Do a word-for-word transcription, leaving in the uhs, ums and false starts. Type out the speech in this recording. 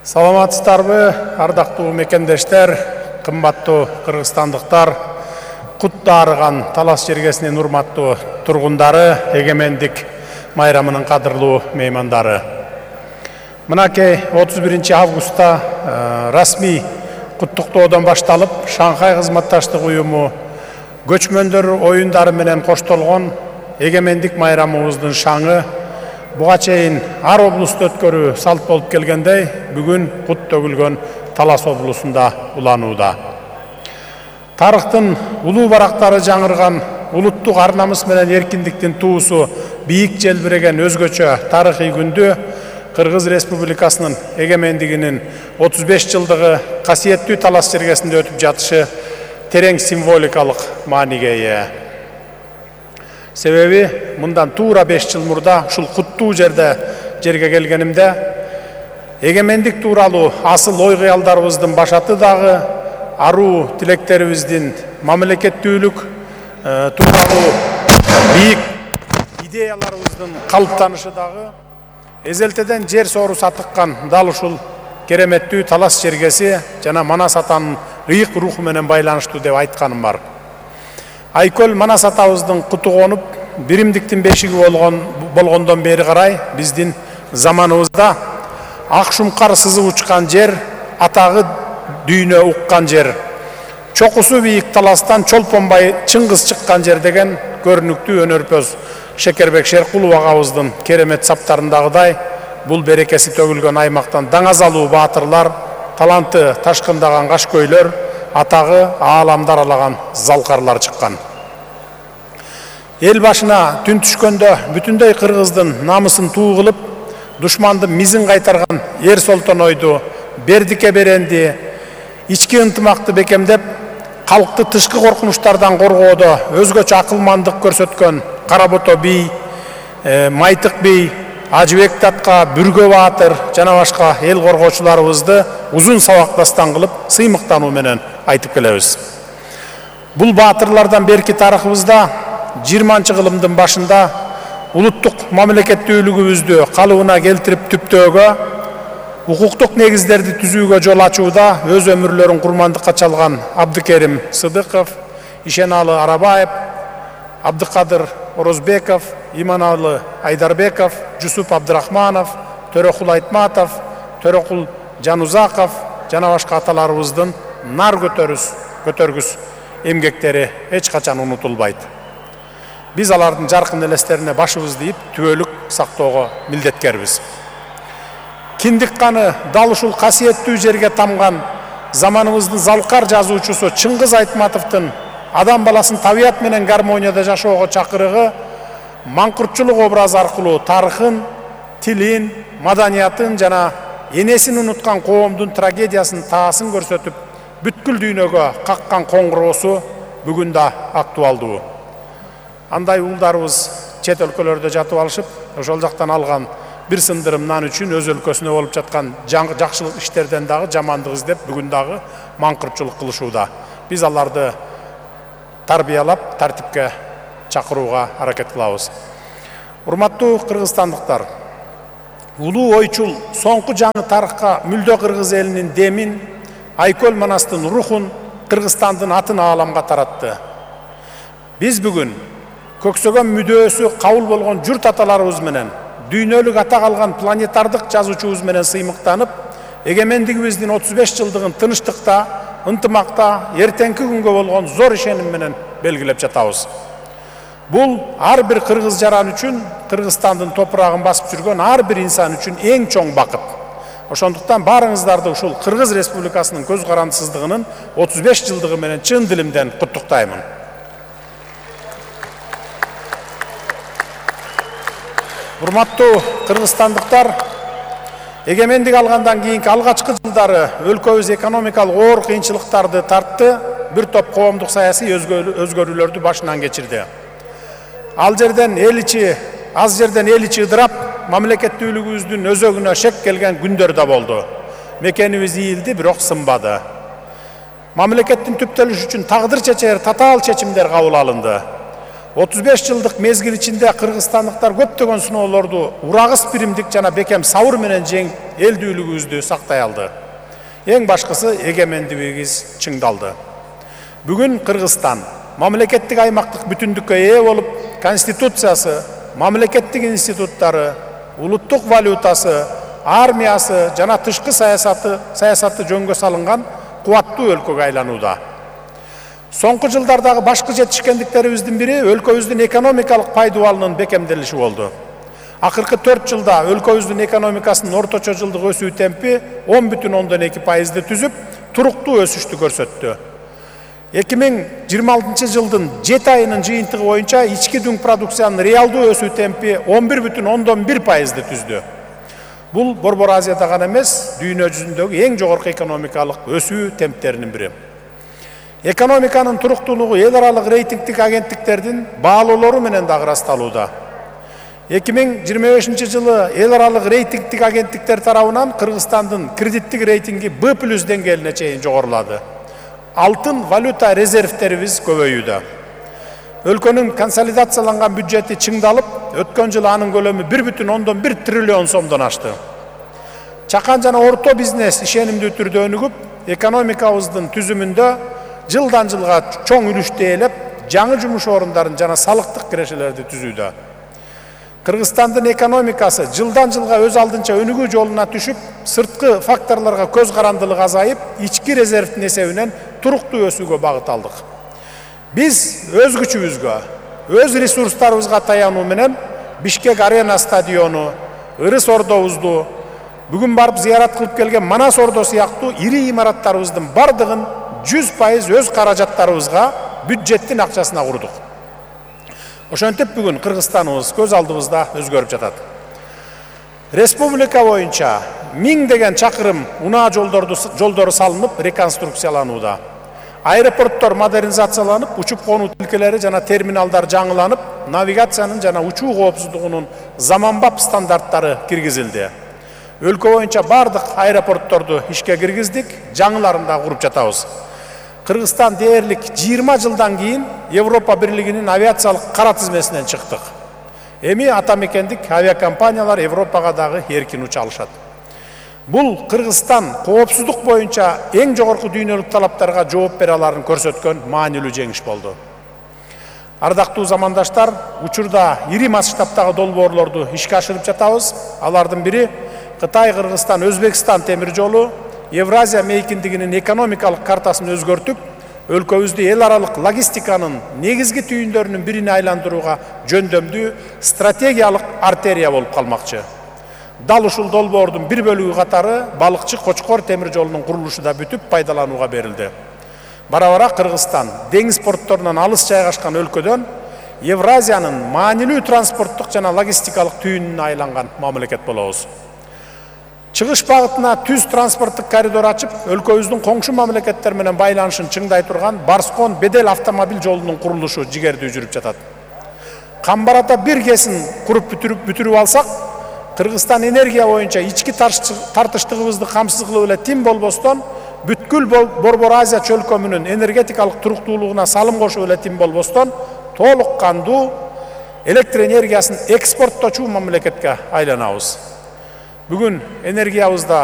Саламатсыздарбы, ардактуу мекендештер, кымбаттуу кыргызстандыктар, кут дарыган Талас жергесинин урматтуу тургундары, эгемендик майрамынын кадырлуу меймандары. Мынакей отуз биринчи августта расмий куттуктоодон башталып, Шанхай кызматташтык уюму көчмөндөр оюндары менен коштолгон эгемендик майрамыбыздын шаңы буга чейин ар облусту өткөрүү салт болуп келгендей, бүгүн кут төгүлгөн Талас облусунда уланууда. Тарыхтын улуу барактары жаңырган улуттук ар намыс менен эркиндиктин туусу бийик желбиреген өзгөчө тарыхый күндү Кыргыз Республикасынын эгемендигинин отуз беш жылдыгы касиеттүү Талас жергесинде өтүп жатышы терең символикалык мааниге ээ. Себеби мындан туура беш жыл мурда ушул куттуу жерде жерге келгенимде эгемендик тууралуу асыл ой кыялдарыбыздын башаты дагы аруу тилектерибиздин мамлекеттүүлүк тууралуу бийик идеяларыбыздын калыптанышы дагы эзелтеден жер соору сатыккан дал ушул кереметтүү Талас жергеси жана Манас атанын ыйык руху менен байланыштуу деп айтканым бар. Айкөл Манас атабыздын куту конуп, биримдиктин бешиги болгон болгондон бери карай биздин заманыбызда ак шумкар сызып учкан жер, атагы дүйнө уккан жер. Чокусу бийик Таластан чолпонбай Чыңгыз чыккан жер деген көрүнүктүү өнөрпөз Шекербек Шеркулов агабыздын керемет саптарындагыдай бул берекеси төгүлгөн аймактан даңазалуу баатырлар, таланты ташкындаган кашкөйлөр, атагы ааламды аралаган залкарлар чыккан. Эл башына түн түшкөндө бүтүндөй кыргыздын намысын туу кылып, душмандын мизин кайтарган Эр Солтонойду, Бердике Беренди, ички ынтымакты бекемдеп, калкты тышкы коркунучтардан коргоодо өзгөчө акылмандык көрсөткөн Каработо бий, Майтык бий, Ажыбек Татка, Бүргө баатыр жана башка эл коргоочуларыбызды узун сабактастан кылып, сыймыктануу менен айтып келебиз. Бул баатырлардан берки тарыхыбызда жыйырманчы кылымдын башында улуттук мамлекеттүүлүгүбүздү калыбына келтирип түптөөгө, укуктук негиздерди түзүүгө жол ачууда өз өмүрлөрүн курмандыкка чалган Абдыкерим Сыдыков, Ишеналы Арабаев, Абдыкадыр Орозбеков, Иманалы Айдарбеков, Жусуп Абдырахманов, Төрөкул Айтматов, Төрөкул Жанузаков жана башка аталарыбыздын нар көтөрүс, көтөргүс эмгектери эч качан унутулбайт. Биз алардын жаркын элестерине башыбызды ийип, түбөлүк сактоого милдеткербиз. Киндик каны дал ушул касиеттүү жерге тамган заманыбыздын залкар жазуучусу Чыңгыз Айтматовдун адам баласын табият менен гармонияда жашоого чакырыгы маңкуртчулук образы аркылуу тарыхын, тилин, маданиятын жана энесин унуткан коомдун трагедиясын таасын көрсөтүп, бүткүл дүйнөгө каккан коңгуроосу бүгүн да актуалдуу. Андай уулдарыбыз чет өлкөлөрдө жатып алышып, ошол жактан алган бир сындырым нан үчүн өз өлкөсүнө болуп жаткан жакшылык иштерден дагы жамандык издеп, бүгүн дагы маңкуртчулук кылышууда. Биз аларды тарбиялап, тартипке чакырууга аракет кылабыз. Урматтуу кыргызстандыктар, улуу ойчул соңку жаңы тарыхка мүлдө кыргыз элинин демин, Айкөл Манастын рухун, Кыргызстандын атын ааламга таратты. Биз бүгүн көксөгөн мүдөөсү кабыл болгон журт аталарыбыз менен, дүйнөлүк ата калган планетардык жазуучубуз менен сыймыктанып, эгемендигибиздин отуз беш жылдыгын тынычтыкта, ынтымакта, эртеңки күнгө болгон зор ишеним менен белгилеп жатабыз. Бул ар бир кыргыз жаран үчүн, Кыргызстандын топурагын басып жүргөн ар бир инсан үчүн эң чоң бакыт. Ошондуктан баарыңыздарды ушул Кыргыз Республикасынын көз карандысыздыгынын отуз беш жылдыгы менен чын дилимден куттуктаймын. Урматтуу кыргызстандыктар, эгемендик алгандан кийинки алгачкы жылдары өлкөбүз экономикалык оор кыйынчылыктарды тартты, бир топ коомдук саясий өзгөрүүлөрдү башынан кечирди. Ал жерден эл ичи, аз жерден эл ичи ыдырап, мамлекеттүүлүгүбүздүн өзөгүнө шек келген күндөр да болду. Мекенибиз ийилди, бирок сынбады. Мамлекеттин түптөлүшү үчүн тагдыр чечер татаал чечимдер кабыл алынды. отуз беш жылдык мезгил ичинде кыргызстандыктар көптөгөн сыноолорду урагыс биримдик жана бекем сабыр менен жеңип элдүүлүгүбүздү сактай алды. Эң башкысы эгемендигибиз чыңдалды. Бүгүн Кыргызстан мамлекеттик аймактык бүтүндүккө ээ болуп, конституциясы, мамлекеттик институттары, улуттук валютасы, армиясы жана тышкы саясаты саясаты жөнгө салынган кубаттуу өлкөгө айланууда. Соңку жылдардагы башкы жетишкендиктерибиздин бири өлкөбүздүн экономикалык пайдубалынын бекемделиши болду. Акыркы төрт жылда өлкөбүздүн экономикасынын орточо жылдык өсүү темпи он бүтүн ондон эки пайызды түзүп, туруктуу өсүштү көрсөттү. эки миң жыйырма алтынчы жылдын жети айынын жыйынтыгы боюнча ички дүң продукциянын реалдуу өсүү темпи он бир бүтүн ондон бир пайызды түздү. Бул Борбор Азияда гана эмес, дүйнө жүзүндөгү эң жогорку экономикалык өсүү темптеринин бири. Экономиканын туруктуулугу эл аралык рейтингдик агенттиктердин баалоолору менен дагы ырасталууда. эки миң жыйырма бешинчи жылы эл аралык рейтингдик агенттиктер тарабынан Кыргызстандын кредиттик рейтинги Б плюс деңгээлине чейин жогорулады. Алтын валюта резервтерибиз көбөйүүдө. Өлкөнүн консолидацияланган бюджети чыңдалып, өткөн жылы анын көлөмү бир бүтүн ондон бир триллион сомдон ашты. Чакан жана орто бизнес ишенимдүү түрдө өнүгүп, экономикабыздын түзүмүндө жылдан жылга чоң үлүштү ээлеп, жаңы жумуш орундарын жана салыктык кирешелерди түзүүдө. Кыргызстандын экономикасы жылдан жылга өз алдынча өнүгүү жолуна түшүп, сырткы факторлорго көз карандылык азайып, ички резервдин эсебинен туруктуу өсүүгө багыт алдык. Биз өз күчүбүзгө, өз ресурстарыбызга таянуу менен Бишкек Арена стадиону, Ырыс ордобузду, бүгүн барып зыярат кылып келген Манас ордо сыяктуу ири имараттарыбыздын бардыгын жүз пайыз өз каражаттарыбызга, бюджеттин акчасына курдук. Ошентип бүгүн Кыргызстаныбыз көз алдыбызда өзгөрүп жатат. Республика боюнча миңдеген чакырым унаа жолдорду жолдору салынып, реконструкцияланууда. Аэропорттор модернизацияланып, учуп конуу тилкелери жана терминалдар жаңыланып, навигациянын жана учуу коопсуздугунун заманбап стандарттары киргизилди. Өлкө боюнча бардык аэропортторду ишке киргиздик, жаңыларын да куруп жатабыз. Кыргызстан дээрлик жыйырма жылдан кийин Европа Бирлигинин авиациялык кара тизмесинен чыктык. Эми атамекендик авиакомпаниялар Европага дагы эркин уча алышат. Бул Кыргызстан коопсуздук боюнча эң жогорку дүйнөлүк талаптарга жооп бере аларын көрсөткөн маанилүү жеңиш болду. Ардактуу замандаштар, учурда ири масштабтагы долбоорлорду ишке ашырып жатабыз. Алардын бири Кытай, Кыргызстан, Өзбекстан темир жолу, Евразия мейкиндигинин экономикалык картасын өзгөртүп, өлкөбүздү эл аралык логистиканын негизги түйүндөрүнүн бирине айландырууга жөндөмдүү стратегиялык артерия болуп калмакчы. Дал ушул долбоордун бир бөлүгү катары Балыкчы Кочкор темир жолунун курулушу да бүтүп пайдаланууга берилди. Бара-бара Кыргызстан деңиз портторунан алыс жайгашкан өлкөдөн Евразиянын маанилүү транспорттук жана логистикалык түйүнүнө айланган мамлекет болобуз. Чыгыш багытына түз транспорттук коридор ачып, өлкөбүздүн коңшу мамлекеттер менен байланышын чыңдай турган Барскон Бедел автомобиль жолунун курулушу жигердүү жүрүп жатат. Камбарата бир кесин куруп бүтүрүп бүтүрүп алсак, Кыргызстан энергия боюнча ички тартыштыгыбызды камсыз кылып эле тим болбостон, бүткүл Борбор Азия чөлкөмүнүн энергетикалык туруктуулугуна салым кошуп эле тим болбостон, толук кандуу электр энергиясын экспорттоочу мамлекетке айланабыз. Бүгүн энергиябызда